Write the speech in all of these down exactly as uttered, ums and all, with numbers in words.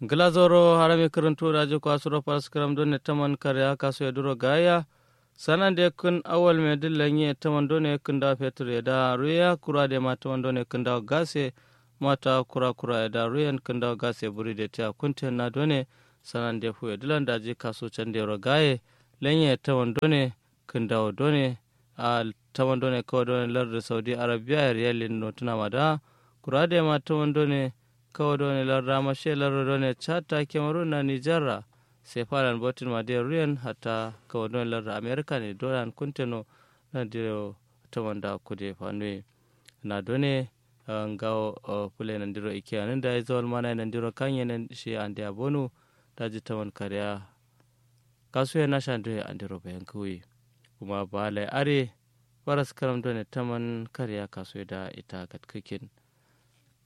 Ngla zauro harami kǝrǝntu daji kwa suro faraskǝram done taman karya kasu ye duro gaya. Sanande kǝn awal me dǝ lenye taman done kǝndawo fetur ye da ruya kura de ma taman done kǝndawo gase. Mata kura kura ye da ruyen kǝndawo gase buri de tiya kunten na done. Sanande fu ye dǝlan daji kasu cande ro gaye. Lenye taman done kǝndawo done. A taman done kawo done lardǝ saudi arabiya ye riyalin notuna ma da. Kura de ma taman done kawo done lardǝ ama she lardǝ done chad ta kemarun na nijar ra. Sefa lan botin ma de ruyen hatta kawo done lardǝ amerika ne dolan kunteno. Nandiro taman da kude fanuye. Na done ngawo fule nandiro ikeyanun dayi zawal manaye nandiro kanye nan shi ande abonu. Daji taman kariya kasuye nasha nduye andiro bayan kǝwuyi. Kuma balaye are faraskǝram done taman kariya kasuye da ita katkǝkin.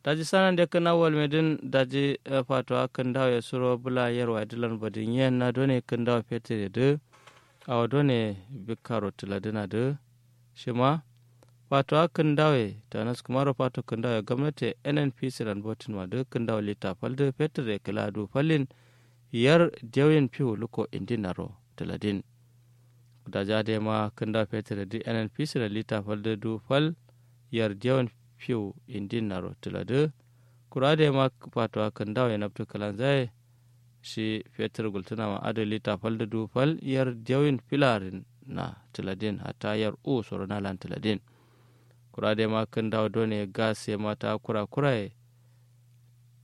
Daji sanande kǝn awwal medǝn daji fatowa kǝndawo ye suro bǝla yerwa ye dǝlan badin yen na done kǝndawo fetur ye dǝ. Awo done bikkaro tǝladǝna dǝ shima fatowa kǝndawo ye tanas kumaro fato kǝndawo ye gomnati ye nnpc lan botin ma dǝ kǝndawo lita fal dǝ fetur ye kǝla du fallin. Yar dewin fiwu luko indin naro tǝladin. Daji adai ma kǝndawo fetur ye dǝ nnpc lan lita fal dǝ du fal. Yar dewin fiwu indin naro tǝladǝ. Kura adai ma fatowa kǝndawo ye nabtu kǝlanzaye. Shi fetur gultuna ma adǝ lita fal dǝ du fal yar dewin filarin na tǝladin hatta yar u soro nalan tǝladin. Kura adai ma kǝndawo done gas ye mata kura kura ye.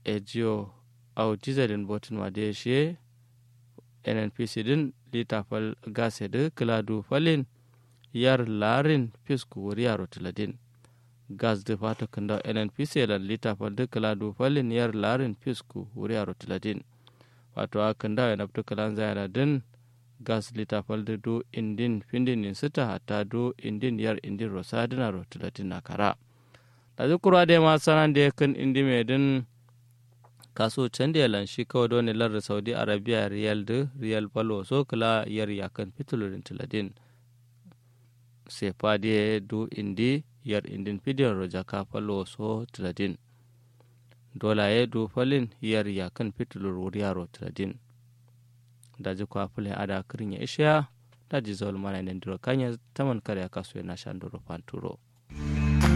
Ejiyo au dizelin botin ma de shiye. Nnpc dǝn lita fal gas ye dǝ kǝla du falin. Yar larin fisku wuriyaro tǝladin. Gas dǝ fato kǝndawo nnpc ye lan lita fal dǝ kǝla du falin yar larin fisku wuriyaro tǝladin. Fatowa kǝndawo ye nabtu kǝlanzayena dǝn. Gas lita fal dǝ du indin findin nin sǝta hatta du indin yar indin ro sadǝnaro tǝladin na kara. Daji kura adai ma sanande kǝn indime dǝn. Kasu cande ye lan shi kawo done lardǝ saudi arabiya riyal dǝ riyal fal wo so kǝla yar yakkǝn fitulurin tǝladin. Sefa diye du indi yar indin fidiyon ro jaka fal wo so tǝladin. Dola ye du falin yar yakkǝn fitulur wuriyaro tǝladin. Daji kwa fule ada kǝrin ye ishiya. Daji zawal mana ye nandiro kanye taman kare ya kasu ye nasha nduro fanturo.